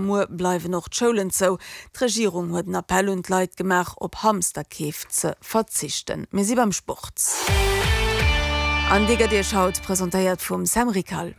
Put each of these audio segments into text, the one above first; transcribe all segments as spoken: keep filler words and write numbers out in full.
Muer bleiwen och d'Schoulen zou. D'Regierung huet en Appell un d'Leit gemaach, op Hamsterkeef ze verzichten. Mir si beim Sport. An dee gëtt Iech haut presentéiert vum Sam Rickal.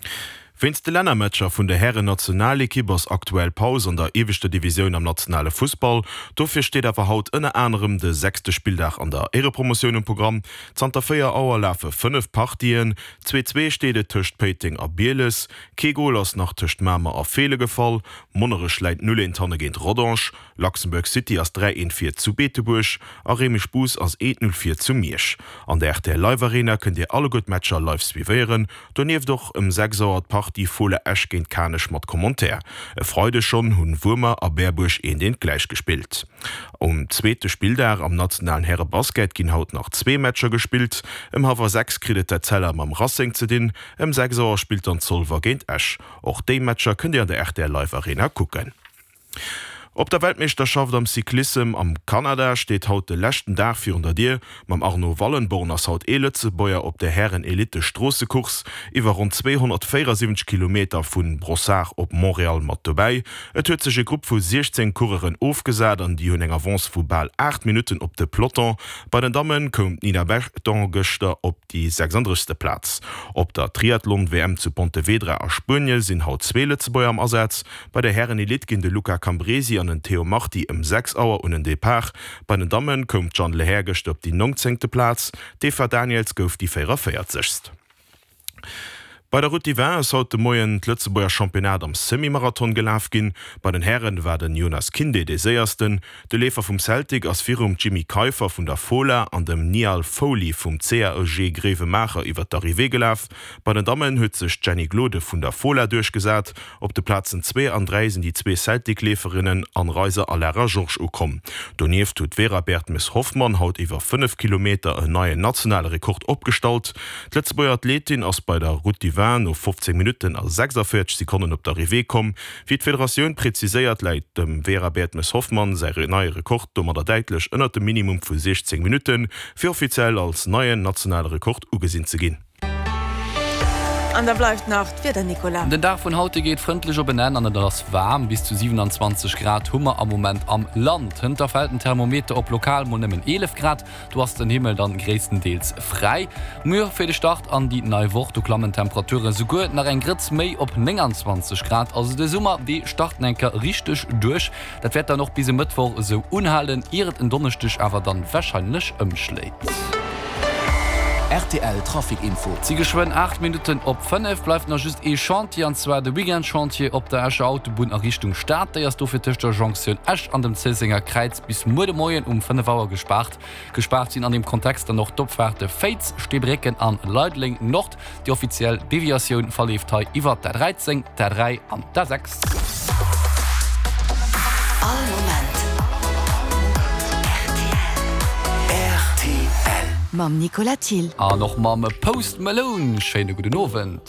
Wéinst de Lännermatcher vun der Hären-Nationalekipp ass aktuell Paus an der ieweschter Divisioun am nationale Fussball. Dofir steet awer haut ënner anerem de sechste Spilldag an der Éierepromotioun um Programm. Zanter véier Auer lafe fënnef Partien. Zwee zwee steet et tëscht Péiteng a Bieles. Kee Gol ass nach tëscht Mamer a Feele gefall. Monnerech läit null eent hanne géint Rodange. Luxembourg City ass dräi eent vir zu Beetebuerg a Réimech-Bous ass eent null vir zu Miersch. An der rtl Live Arena kënnt Dir alleguer d'Matcher live suivéieren. Donieft och ëm sechs Auer d'Partie Fola Esch géint Kanech mat Commentaire. E Freideg schonn hunn Wuermer a Berbuerg eent eent gläich gespillt. Um zweete Spilldag am nationalen Häre-Basket ginn haut nach zwee Matcher gespillt. Ëm hallwer sechs kritt et d'Etzella mam Racing ze dinn, ëm sechs Auer spillt dann Zolwer géint Esch. Och déi Matcher kënnt Dir an der rtl Live Arena kucken. Op der Weltmeeschterschaft am Cyclissem am Kanada steet haut de leschten Dag virun der Dier. Mam Arno Wallenborn ass haut ee Lëtzebuerger op der Hären-Elite-Stroossecourse iwwer ronn zweehonnertvéierasiwwenzeg Kilometer vu Brossard op Montréal mat dobäi. Et huet sech e Grupp vu siechzéng Coureuren ofgesat an déi hunn eng Avance vu bal aacht Minutten op de Peloton. Bei den Damme koum d'Nina Berton gëschter op déi sechsunddrëssegste Plaz. Op der Triathlon-W M zu Pontevedra a Spuenie sinn haut zwee Lëtzebuerger am Asaz. Bei der Hären-Elite ginn de Luca Cambresi an den Théo Marti ëm sechs Auer un den Depart. Bei den Damme koum d'Jeanne Lehair gëschter op déi nongzéngte Plaz, d'Eva Daniëls gouf déi véierunvéierzegst. Bei der Route du Vin ass haut de Moien d'Lëtzebuerger Championnat am Semi-Marathon gelaf ginn. Bei den Hären war den Jonas Kinde dee Séiersten. De Leefer vum Celtic ass virum Jimmy Keiffer vun der Fola an dem Niall Foley vum C A E G Gréiwemaacher iwwer d'Arrivée gelaf. Bei den Dammen huet sech d'Jenny Glode vun der Fola duerchgesat. Op de Plazen zwee an dräi sinn déi zwee Celtic-Leeferinnen Anne Reiser a Lara Georges ukomm. Donieft huet d'Vera Bertmes-Hoffmann haut iwwer fënnef Kilometer en neien nationale Rekord opgestallt. D'Lëtzebuerger Athletin ass bei der Route du Vin no fofzéng Minutten a sechsavéierzeg Sekonnen op d'Arrivée komm. Wéi d'Federatioun preziséiert, läit dem Vera Bertmes-Hoffmann säi neie Rekord domadder däitlech ënnert dem Minimum vu siechzéng Minutten, fir offiziell als neien nationale Rekord ugesinn ze ginn. An da bleift nach d'Wieder, Nicolas. Den Dag vun haut geet frëndlech op en Enn an et ass waarm, bis zu siewenanzwanzeg Grad hu mer am Moment am Land. Hënt fält den Thermometer op lokal mol nëmmen eelef Grad, do ass den Himmel dann gréisstendeels fräi. Muer fir de Start an déi nei Woch, do klammen d'Temperature souguer nach eng Grëtz méi op nénganzwanzeg Grad. Also de Summer, dee start eng Kéier richteg duerch. Dat wäert dann och bis e Mëttwoch esou unhalen, ier et en Donneschdeg awer dann warscheinlech ëmschléit. Rtl Trafic Info. Et si geschwënn aacht Minutten op fënnef. Bleift nach just ee Chantier, an zwar de Weekend-Chantier op der Escher Autobunn a Richtung Stad. Déi ass dofir tëscht der Jonktioun Esch an dem Zéissenger Kräiz bis muer de Moien um fënnef Auer gespaart. Gespaart sinn an deem Kontext dann och d'Opfaarte Féiz, Steebrécken an Leideleng Nord. Déi offiziell Deviatioun verleeft hei iwwert d'A dräizéng, d'A dräi an d'A sechs. All Moment rtl. Mam Nicolas Thill. An och mam Post Malone. Schéine gudden Owend.